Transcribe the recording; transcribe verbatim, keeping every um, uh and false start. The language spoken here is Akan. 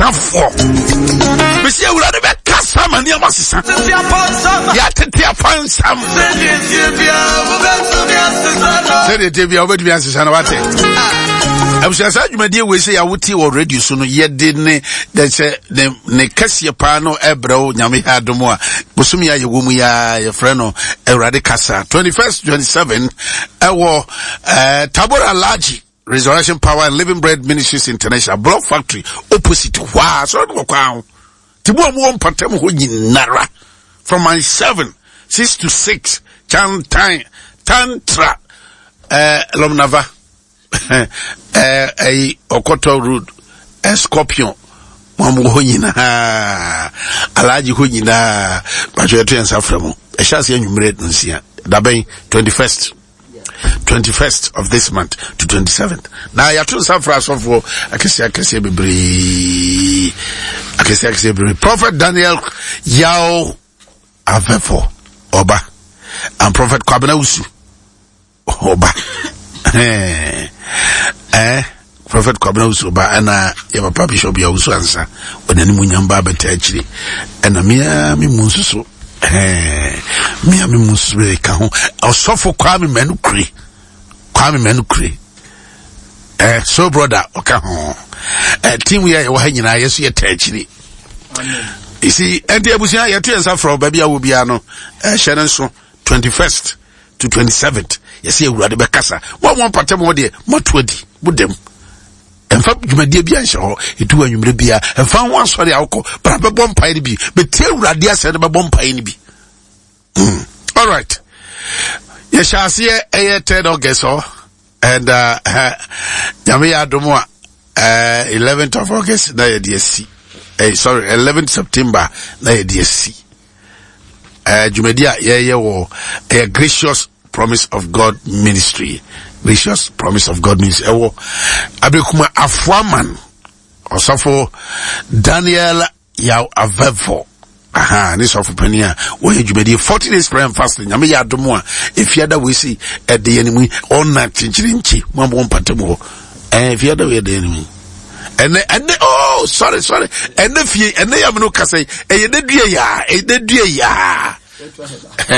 sesafoɔ. Mesi Awurade bɛkasa ma nneɛma sesa. Yɛatete apansam. Sɛdeɛ tie bia wobɛtumi asesa no, wate. Abusua, saa dwumadie wei sɛ yɛawotie wɔ radio so no, yɛde ne de sɛ ne ne kɛseɛ paa no ɛbrɛ wo. Nyame yɛ adom a, bosome a yɛwɔ mu yɛa yɛfrɛ no Awurade Kasa twenty-first twenty-seven ɛwɔ eh, Tabora Alhaji Resurrection Power and Living Bread Ministries International, Block Factory opposite hɔ a sɔrɔ no wɔ kwan ho. Nti mo a mowɔ mpatam hɔ nyinara, from my seven six to six, Chantan, Tantra, eh, Lomnava, eh, ɛyi Ɔkɔtɔ Road, eh, Scorpion, mo a mowɔ hɔ nyinaa, Alhaji hɔ nyinaa, patwɛ, yɛto yɛn nsa frɛ mo. Ɛhyɛ aseɛ anwummerɛ nsia dabɛn twenty-first twenty-first of this month to twenty-seventh. Na yɛato nsa frɛ asɔfoɔ akɛseɛ akɛseɛ bebree, akɛseɛ akɛseɛ bebree. Prophet Daniel Yao Avɛfo ɔba, and Prophet Kwabena Wusu ɔba, eh, Prophet Kwabena Wusu ɔba, ɛna yɛ papa Bishop Yawusu ansa ɔde anim nyam ba abɛta akyire, ɛna mea me mu nso so, mea me mu nso so ka ho. Ɔsɔfo Kwame Manu Kure, Kwame Manu Kure, eh, so brother ɔka ho. eh, team yɛ yɛwɔ ha nyinaa, yɛ so yɛta akyire. You see, ɛnti abusua, yɛto yɛn nsa frɛ baabi a wɔ biara no, ɛhyɛ no nso twenty-first to twenty-seventh. Yɛsɛ Awurade bɛkasa. Mo a mo mpatam hɔ deɛ, moato adi mo dɛm. Ɛmfa dwumadie bi anhyɛ hɔ, ɛtu wɔ anwummerɛ biara ɛmfa ho asɔre a wokɔ, bra bɛbɔ mpaeɛ no bi, bɛtie Awurade asɛm no, bɛbɔ mpaeɛ no bi. mm. all right, yɛhyɛ aseɛ ɛyɛ third August hɔ, and uh, Nyame yɛ adom a, uh, eleventh of August na yɛde asi, eh, sorry, eleventh September na yɛde asi. uh, dwumadi a yɛyɛ wɔ ɛyɛ Gracious Promise of God Ministry, Gracious Promise of God Ministry ɛwɔ Abekuma Afoaman. Ɔsɔfo Daniel Yaw Avɛfo, aha ne sɔfo panin a wɔyɛ dwumadie forty days prayer and fasting. Nyame yɛ adom a, efiada wei si ɛde yɛn mu ɔna kyenkyere nkyi mo a mo mpata mu hɔ. Ɛɛ efiada wei ɛde yɛn mu ɛnɛ ɛnɛ oh, sorry, sorry, ɛnɛ fie ɛnɛ yɛ amino kasa yi, ɛyɛ ne dua yaa, ɛyɛ ne dua yaa.